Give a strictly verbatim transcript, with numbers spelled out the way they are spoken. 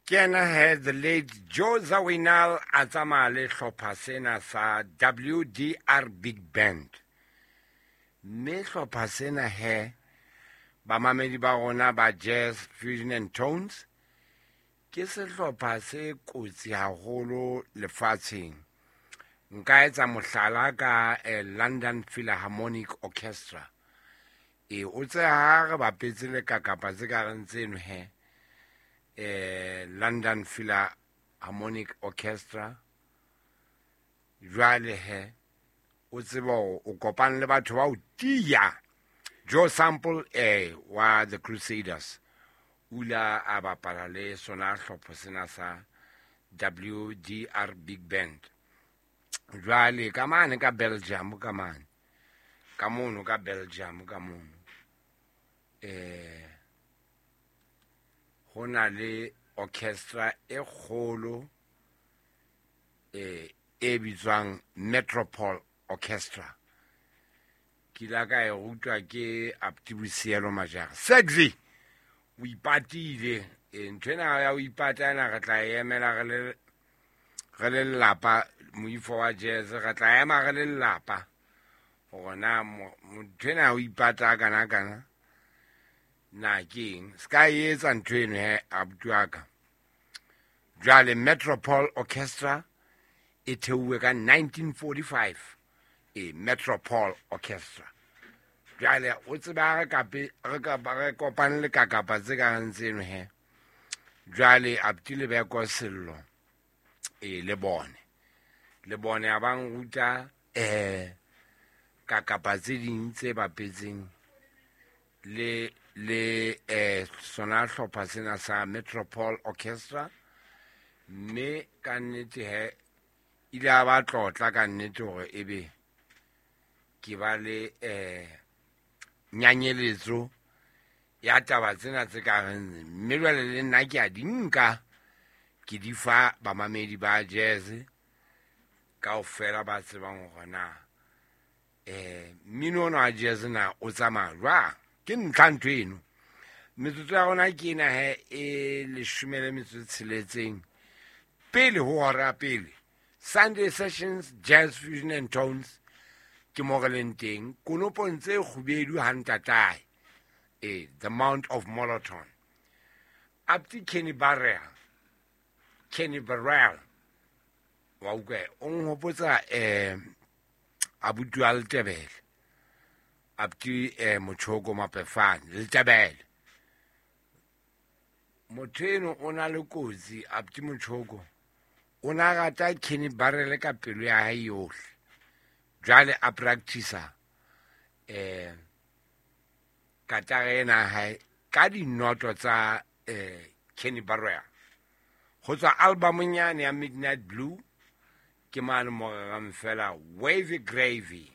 Ke yena he, the late Joe Zawinul, a tsamaya le hlopha sena sa W D R Big Band. Mme hlopha sena he, bamamedi ba rona ba Jazz Fusion and Tones, ke sehlopha se kotsi haholo lefatsheng. Nka etsa mohlala ka eh, London Philharmonic Orchestra. E o tse ha re bapetse le kakapa tse ka reng tseno he, eh London Philharmonic Orchestra. Jwale he, o tsebe hore o kopane le batho ba o tia. Joe Sample eh wa The Crusaders o ile a bapala le sona hlopha sena sa W D R Big Band. Jwale ka mane ka Belgium, ka mane ka mono ka Belgium ka mono, eh ho na le orchestra e kgolo eh e bitswang Metropole Orchestra. Ke ile ka e rutwa ke Aptibosielo Majara. Sexy o ipatile. E ntho ena ya o ipata ena, re tla e emela re le re le lelapa. Moifo wa jazz, re tla ema re le lelapa hore na ntho ena ya ho ipata kana kana na ke eng. Se ka e etsa ntho eno he, abuti wa ka. Jwale Metropole Orchestra e theuwe ka nineteen forty-five, e Metropole Orchestra. Jwale o tseba re kape re ka re kopane le kakapa tse ka reng tseno he. Jwale abuti Lebeko Sello e le bone le bone a bang ruta eh kakapa tse ding tse bapetseng le le eh sona hlopha sena sa Metropole Orchestra. Mme ka nnete he, ile a ba tlotla ka nnete hore ebe ke ba le eh nyanyeletso ya taba tsena tse ka reng. Mme jwale le nna ke a di nka, ke di fa bamamedi ba jazz kaofela ba tsebang hore na eh mmino ona wa jazz na o tsamaya jwang. Ke ntlha ntho eno. Metsotso ya rona ke ena he, e leshome le metso e tsheletseng pele ho hora pele. Sunday Sessions, Jazz Fusion and Tones, ke mo re leng teng konopong tse kgubedu ha ntatae e the Mount of Moloton. Apti Kenny Barrell, Kenny Burrell wa utlwa, o nhopotsa eh abuti wa Letebele, abuti eh Motjhoko Mapefane Letebele. Motho eno o na le kotsi. Abuti Motjhoko o na rata Kenny Burrell ka pelo ya hae yohle. Jwale a practice eh katara ena ya hae ka dinoto tsa eh Kenny Burrell ho tswa albumong yane ya Midnight Blue. Ke mane mo rerang fela Wavy Gravy.